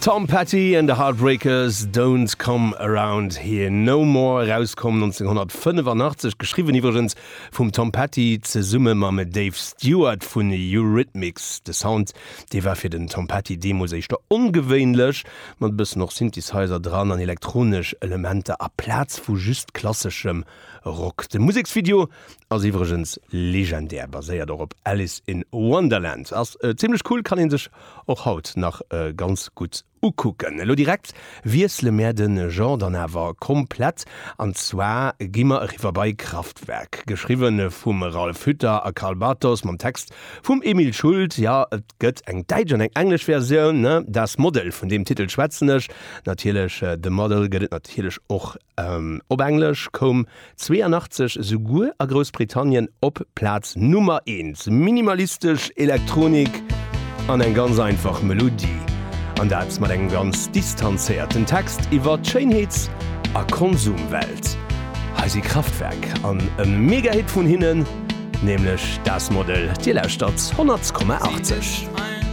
Tom Petty and the Heartbreakers, Don't Come Around Here No More, erauskomm 1985, geschriwwen iwwregens vum Tom Petty zesumme mam Dave Stewart vun Eurythmics. De Sound, dee war fir den Tom Petty deemools éischter ongewéinlech, mat e bëssen och Synthesizer dran an elektronesch Elementer aplaz vu just klasseschem Rock. De Museksvideo Ass iwwregens legendär, baséiert och op Alice in Wonderland. Ass zimlech cool, kann een sech och haut nach ganz gutt ukucken. Elo direkt wiessele mär de Genre dann awer komplett, an zwar gi mer eriwwer bei Kraftwerk. Geschriwwe vum Ralf Hütter a Karl Bartos, mam Text vum Emil Schult. Jo, et gëtt eng däitsch an eng englesch Versioun, ne? Das Model, vun deem Titel schwätzen ech natierlech. The Model gëtt et natierlech och Op Englesch koum 82 esouguer a Groussbritannien op Plaz Nummer eent. Minimalistesch Elektronik an eng ganz einfach Melodie. An dat mat engem ganz distanzéierten Text iwwer d'Schéinheets a Konsumwelt. Hei si Kraftwerk an e Mega-Hit vun hinnen, nämlech Das Model. Dir lauschtert 100,80.